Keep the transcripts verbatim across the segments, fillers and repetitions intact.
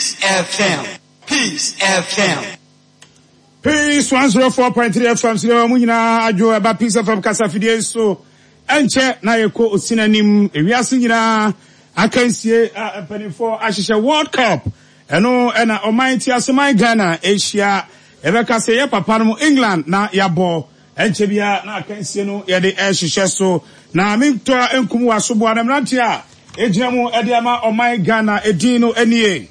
Peace F M. Peace F M. Peace one oh four point three F M so mu nyinaa adwo ɛba Peace F M kasafidie so. Ɛnkyɛ na yɛkɔ osinanim ewiase nyinaa akansie a mpanimfoɔ ahyehyɛ World Cup. Ɛno ɛna ɔman ti aseman Ghana ahyia, yɛbɛka sɛ yɛ papa no mu England na yɛabɔ. Ɛnkyɛ bia na akansie no yɛde ɛhyehyɛ so na mentɔ nkum wɔ asoboa na mmeranteɛ a ɛgyina mu ɛde ama ɔman Ghana edin no nie: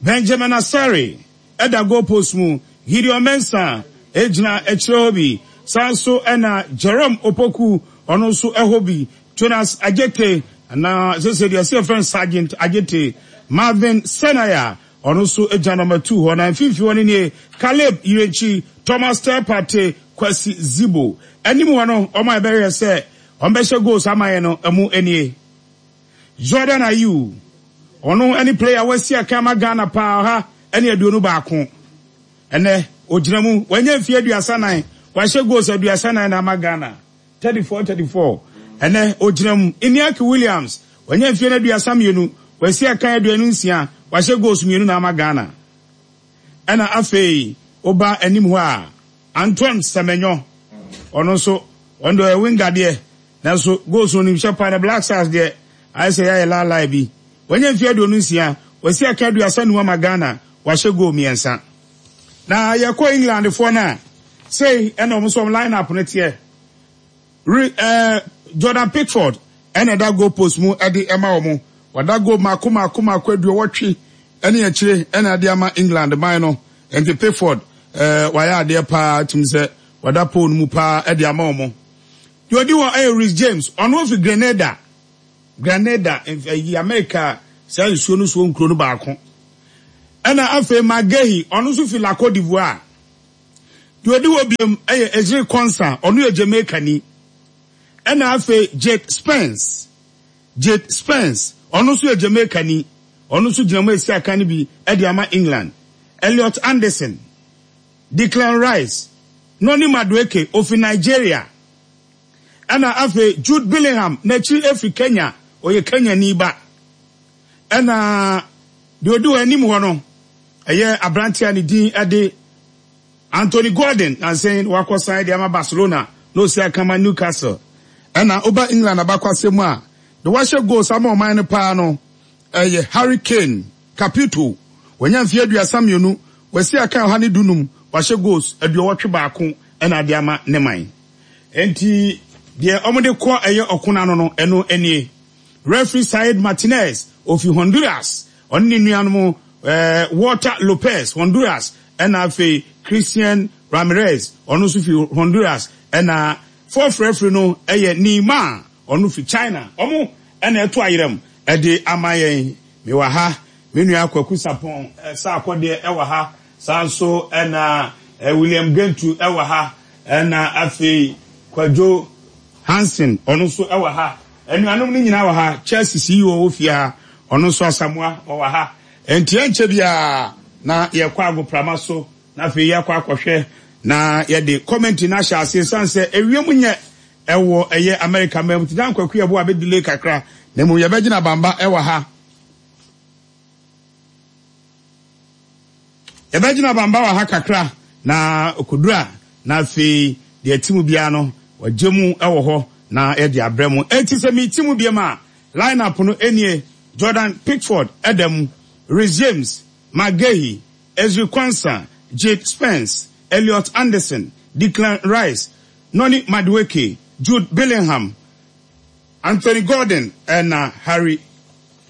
Benjamin Asare ɛda goal post mu, Gideon Mensah egyina akyire hɔ bi, saa nso ɛna Jerome Opoku, ɔno nso ɛhɔ bi, Jonas Adjetey na sese deɛ ɛsɛ yɛfrɛ no Sergeant Adjetey, Marvin Senaya, ɔno nso gyina number two hɔ, na mfimfini hɔ no nie: Caleb Yirenkyi, Thomas Partey, Kwasi Zibo. Anim hɔ no, ɔmo a ɛbɛyɛ sɛ ɔmo bɛhyɛ goals ama yɛn no ɛmu nie: Jordan Ayew, ɔno ɛne player wasi akan ama Ghana paa, ɔha ɛne aduonu baako. Ɛnɛ ogyina mu, wanya mfie aduasa nan, wahyɛ goals aduasa nan na ama Ghana, thirty four thirty four. Ɛnɛ ogyina mu. Inaki Williams, wanya mfie no aduasa mmienu, wasi akan aduonu nsia, wahyɛ goals mmienu na ama Ghana. Ɛna afei woba anim hɔ a, Antoine Semenyo, ɔno nso ɔno deɛ ɔyɛ winger deɛ, nanso goals no nimhyɛ paa. Na Black Stars deɛ, ayɛ sɛ yɛayɛ laalae bi. Wanya mfie aduonu nsia, wasi akan aduasa num ama Ghana, wahyɛ goal mmiɛnsa. Na yɛkɔ England foɔ no a, sei ɛna ɔmo nso ɔmo line up no teɛ. Re ɛɛ Jordan Pickford ɛna ɛda goal post mu ɛde ɛma wɔn. Wada goal mako mako mako aduɔwɔtwe ɛne akyire ɛna ɛde ama England man no. Nti Pickford ɛɛ wayɛ adeɛ paa, tum sɛ wada pole no mu paa ɛde ama wɔn. Deɛ ɔdi hɔ ɛyɛ Reece James, ɔno ofi Grenada. Grenada ɛyi America saa nsuo no soɔ nkuro no baako. Ɛna afei Magehi, ɔno nso fi La Cote d'Ivoire. Deɛ ɔdi hɔ biom ɛyɛ Ezri Konsa, ɔno yɛ Jamaica ni. Ɛna afei Jake Spence, Jake Spence, ɔno nso yɛ Jamaica ni, ɔno nso gyina mu esi aka no bi ɛde ama England. Elliot Anderson, Declan Rice, Noni Madueke ofi Nigeria. Ɛna afei Jude Bellingham, n'akyi efi Kenya, ɔyɛ Kenya ni ba. Ɛna deɛ ɔdi hɔ anim hɔ no ɛyɛ aberanteɛ a ne din ɛde Anthony Gordon, nansɛn wakɔ san de ama Barcelona na osi akama Newcastle. Ɛna ɔba England abakɔasɛm mu a, de wahyɛ goals ama ɔman no paa no ɛyɛ Harry Kane Capito. Wanya mfeɛ aduasa mmienu, wasi akan ɔha ne dunum, wahyɛ goals aduɔwɔtwe baako ɛna ade ama ne man. Nti deɛ wɔde kɔ ɛyɛ ɔko n'ano no, ɛno nie: referee Said Martinez ofi Honduras, ɔne ne nuanom ɛɛ Walter Lopez, Honduras, ɛna afei Christian Ramirez, ɔno nso fi Honduras. Ɛna fourth referee no ɛyɛ Neymar, ɔno fi China. Ɔmo ɛna ɛto ayerɛm ɛde ama yɛn. Mewɔ ha, me nua Kwaku Sapɔn ɛsa akɔdeɛ ɛwɔ ha, saa nso ɛna ɛ William Gentu ɛwɔ ha, ɛna afei Kwadwo Hansen, ɔno nso ɛwɔ ha. Anuanom no nyinaa wɔ ha. Chelsea C E O wɔ fie ha, ɔno nso Asamoa ɔwɔ ha. Nti ɛnkyɛ biara na yɛkɔ agoprama so na afei yɛakɔ akɔhwɛ na yɛde commentary no ahyɛ ase, san sɛ ewiem nyɛ ɛwɔ ɛyɛ America mɛm nti dan Kwaku yɛbo a bɛdelay kakra, na mmom yɛbɛgyina bamba ɛwɔ ha, yɛbɛgyina bamba wɔ ha kakra na okoduru na afei deɛ ti mu biara no wɔgye mu ɛwɔ hɔ na yɛde abrɛ mu. Eti sɛ mi ti mu biem a, line up no enie: Jordan Pickford ɛda mu, Reece James, Magehi, Ezri Konsa, Jake Spence, Elliot Anderson, Declan Rice, Noni Madueke, Jude Bellingham, Anthony Gordon ɛna Harry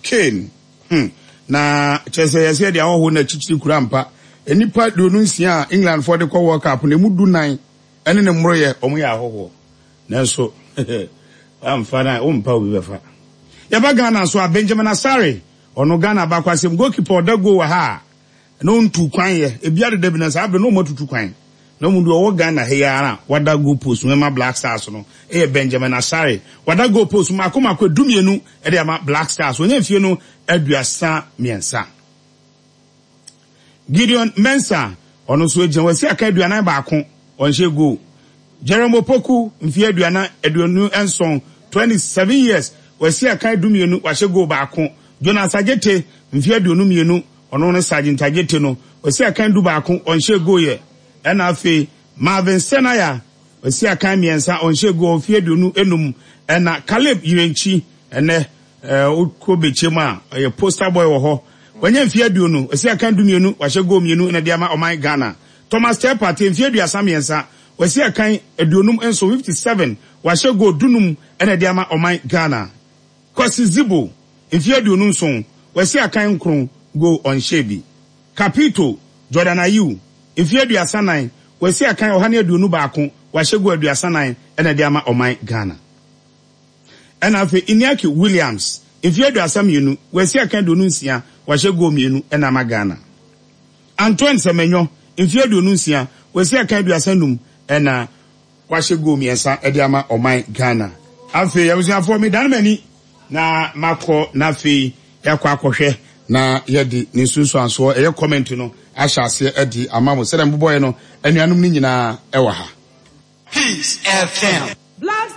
Kane. hmm. Na kyerɛ sɛ yɛsɛ yɛde ahɔho na akyikyiri kura mpa. Nnipa aduonu nsia a England foɔ de kɔ World Cup na emu du nan ɛne ne mmoroyɛ, ɔmo yɛ ahɔhoɔ, nanso amfa na wompa obi bɛfa. Yɛba Ghana so a, Benjamin Asare, ɔno Ghana baako asɛm, goalkeeper ɔda goal wɔ ha a na ɔntu kwan yɛ ebi adeda bi na saa abiri na ɔmo atutu kwan na ɔmo deɛ ɔwɔ Ghana ha yi ara. Wada goal post mu ɛma Black Stars no ɛyɛ Benjamin Asare. Wada goal post mako mako edumienu ɛde ama Black Stars. Onye mfie no aduasa mmiɛnsa. Gideon Mensah, ɔno nso gyina, wasi aka aduanan baako, ɔnhyɛ goal. Jerome Opoku, mfie aduanan aduonu nson, twenty seven years, wasi aka dumienu, wahyɛ goal baako. Jonas Adjetey, mfie aduonu mmienu. Ɔno ne Sergeant Adjetey no, wasi akan du baako, ɔnhyɛ goal yɛ. Ɛna afei Marvin Senaya, wasi akan mmiɛnsa, ɔnhyɛ goal, mfeɛ aduonu enum. Ɛna Caleb Yirenkyi, ɛnɛ ɛɛ wokɔ Bɛkyɛm a, ɔyɛ poster boy wɔ hɔ. Wanya mfeɛ aduonu, wasi akan du mmienu, wahyɛ goal mmienu na de ama ɔman Ghana. Thomas Teye Partey, mfeɛ aduasa mmiɛnsa, wasi akan aduonum nso, fifty seven, wahyɛ goal dunum ɛna de ama ɔman Ghana. Kwasi Sibo, mfeɛ aduonu nson, wasi akan nkron, goal ɔnhyɛ bi. Capito Jordan Ayew, mfeɛ aduasa nan, wasi akan ɔha ne aduonu baako, wahyɛ goal aduasa nan ɛna de ama ɔman Ghana. Ɛna afei Inaki Williams, mfeɛ aduasa mmienu, wasi akan aduonu nsia, wahyɛ goal mmienu ɛna ama Ghana. Antoine Semenyo, mfeɛ aduonu nsia, wasi akan aduasa num ɛna wahyɛ goal mmiɛnsa ɛde ama ɔman Ghana. Afei abusuafoɔ, medane m'ani na makɔ na afei yɛakɔ akɔhwɛ na yɛde ne nsunsuansoɔ ɛyɛ comment no ahyɛ aseɛ ɛde ama mo sɛdeɛ mbobɔeɛ no, anuanom no nyinaa ɛwɔ ha. Peace F M. Black